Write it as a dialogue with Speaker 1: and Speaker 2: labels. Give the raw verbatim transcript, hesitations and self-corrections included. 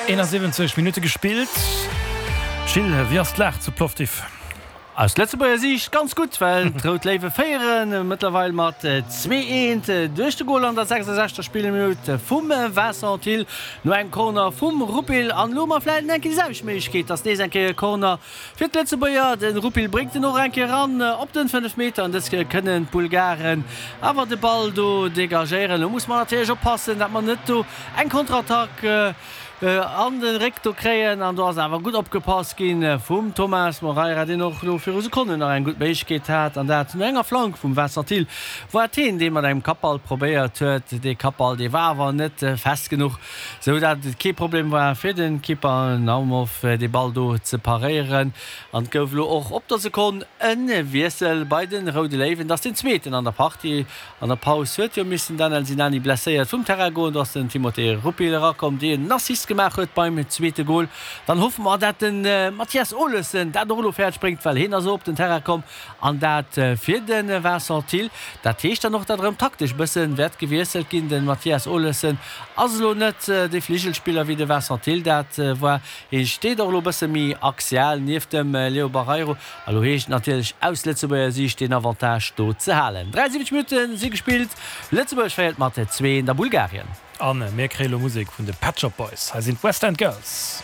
Speaker 1: eenasiwwenzeg Minutte gespillt. Gilles, wéi ass d'Lag zu Plovdiv?
Speaker 2: Aus Lëtzebuerger Siicht ganz gutt, well d'Rout Léiwe féiere mëttlerweil mat zwee eent duerch de Gol an der sechsundsechzegster Spillminutt vum Vincent Thill no engem Corner vum Rupil. An elo hu mer vläicht eng Kéier déi selwecht Méiglechkeet, dass nees eng Kéier e Corner fir d'Lëtzebuerger. De Rupil bréngt en och eng Kéier eran op den fënnef Meter an dës Kéier kënnen d'Bulgaren awer de Ball do degagéieren. Elo musse mer natierlech oppassen, dat mer net do eng Konterattack an de Réck do kréien an do ass awer gutt opgepasst gi vum Thomas Moreira, deen och elo viru Sekonnen nach eng gutt Méiglechkeet hat an dat no enger Flank vum Vincent Thill war et hien, dee mat engem Kappball probéiert huet. Dee Kappball, dee war awer net fest genuch, sou dat et kee Problem war fir de Keeper Naumov, dee Ball do ze paréieren. An et gouf elo och op der Sekonn e Wiessel bei de Roude Léiwen. Et ass deen zweeten an der Partie. An der Paus huet jo missen den Daniel Sinani blesséiert vum Terrain goen. Do ass den Timothé Rupil erakomm, deen en Assist gemaach huet beim zweete Gol. Dann hoffe mer, dat de Mathias Olesen dat och elo fäerdeg bréngt, well hien ass och op den Terrain komm an dat fir de Vincent Thill. Dat heescht dann och, dat erëm taktesch bësse wäert gewiesselt ginn. De Mathias Olesen ass elo net dee Fligelspiller wéi de Vincent Thill dat war. Hie steet och elo bësse méi axial nieft dem Leo Barreiro. A lo heescht et natierlech aus Lëtzebuerger Siicht deen Avantage do ze halen. dräiundsiwwenzeg Minutte si gespillt, Lëtzebuerg féiert mat zwee eent a Bulgarien.
Speaker 1: A mir kréie lo Musek vun de Pet Shop Boys. Hei sinn d'West End Girls.